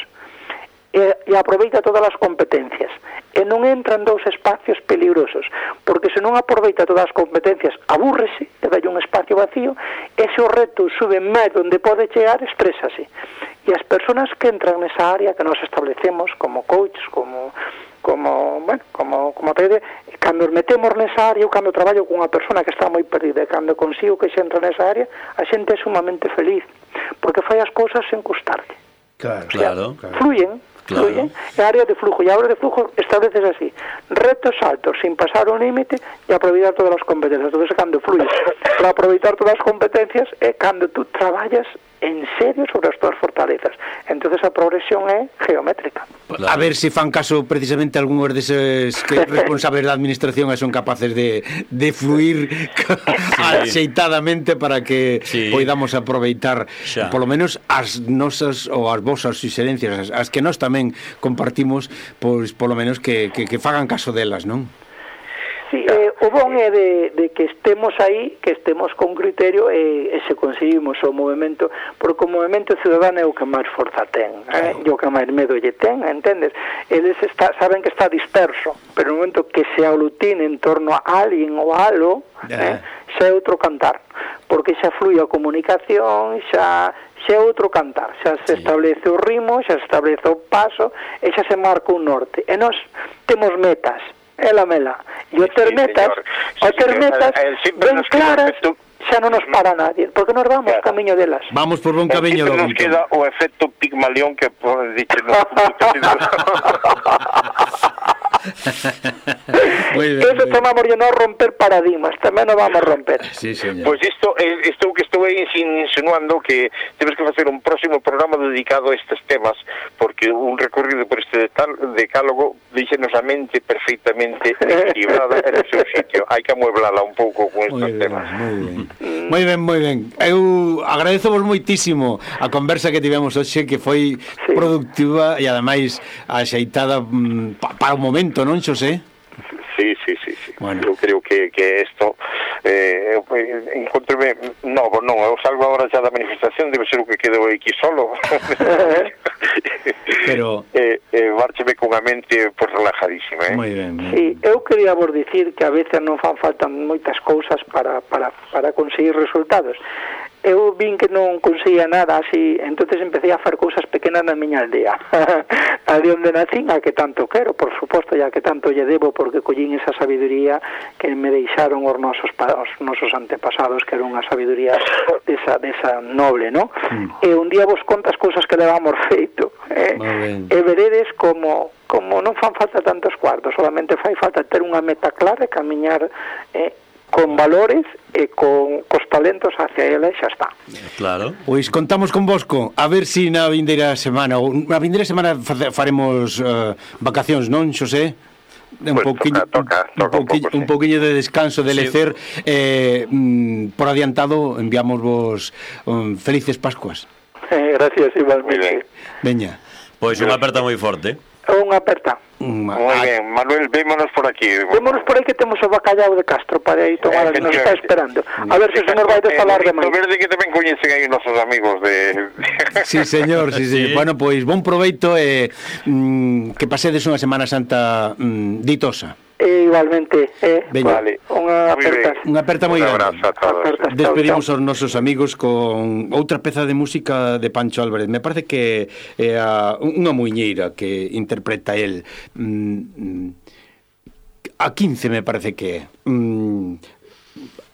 e aproveita todas as competencias, e non entra en dous espacios peligrosos, porque se non aproveita todas as competencias, abúrrese, e dai un espacio vacío, e se o reto sube máis onde pode chegar, estrésase. E as persoas que entran nesa área que nos establecemos como coaches, como cando nos metemos nesa área, ou cando traballo con unha persona que está moi perdida, e cando consigo que xe entra nesa área, a xente é sumamente feliz, porque fai as cousas sen custarlle. Claro. Fluyen, é área de flujo, e a área de flujo estableces así, retos altos, sin pasar un límite, e aproveitar todas as competencias. Entonces, cando fluyes para aproveitar todas as competencias, é cando tú traballas en serio sobre as túas fortalezas. Entonces a progresión é geométrica. Claro. A ver se fan caso precisamente algúns deses que responsables da administración son capaces de fluir axeitadamente para que poidamos aproveitar polo menos as nosas ou as vosas suxerencias, as que nós tamén compartimos, pois polo menos que fagan caso delas, non? Sí, o bon é de que estemos aí, que estemos con criterio e se conseguimos o movimento, porque o movimento ciudadano é o que máis forza ten, e o que máis medo lle ten, entendes? Eles saben que está disperso, pero no momento que se aglutine en torno a alguén ou a algo, xa é outro cantar, porque xa flúe a comunicación, xa é outro cantar, xa se establece o ritmo, xa se establece o paso, e xa se marca un norte, e nós temos metas, ela mela, e o ter metas ben claras, xa non nos para nadie, porque nos vamos camiño delas. Vamos por bon camiño do nos queda o efecto Pigmalión que dice no Eso chamamos de non romper paradigmas, tamén non vamos a romper. Sí, señor. Pois isto que estou insinuando que temos que facer un próximo programa dedicado a estes temas, porque un recorrido por este decálogo díxenos a mente perfectamente equilibrada en o seu sitio. Hai que amueblala un pouco con estes temas. Moi ben. Eu agradezovos moitísimo a conversa que tivemos hoxe, que foi productiva e ademais axeitada para o momento, non, Xosé? Sí. Bueno. Eu creo que isto encontreme novo, non, eu salgo agora xa da manifestación, debe ser o que quedou aquí solo. Pero márcheme cunha mente pues relajadísima, Moi ben. Sí, eu quería vos dicir que a veces non fan falta moitas cousas para conseguir resultados. Eu vin que non conseguía nada así, entonces empecé a facer cousas pequenas na miña aldea. A de onde nacín, a que tanto quero, por suposto, ya que tanto lle debo, porque collín esa sabiduría que me deixaron os nosos antepasados, que era unha sabiduría desa noble, ¿no? E un día vos contas cousas que levamos feito, e veredes como non fan falta tantos cuartos, solamente fai falta ter unha meta clara e camiñar con valores e cos talentos hacia ela e xa está. Claro. Pois contamos con Bosco, a ver si na vindeira semana faremos vacacións, non, Xosé? Un poquinho de descanso, de lecer, por adiantado enviamos vos felices Pascuas. Gracias, igualmente. Veña. Pois unha aperta moi forte. Unha aperta. Moi ben, Manuel, vémonos por aquí. Vémonos por aí que temos o bacallau de Castro para aí tomar, nos está esperando. A ver se o señor vai falar de máis. Verde que tamén coñecen aí nosos amigos de... Sí, señor, sí. Bueno, pois bon proveito e que pasedes unha Semana Santa ditosa. Igualmente, vale. Unha aperta moi grande. Despedimos aos nosos amigos con outra peza de música de Pancho Álvarez. Me parece que é unha muiñeira que interpreta el a 15, me parece que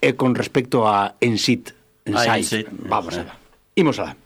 é con respecto a Ensit. Vamos a ver. Imos alá.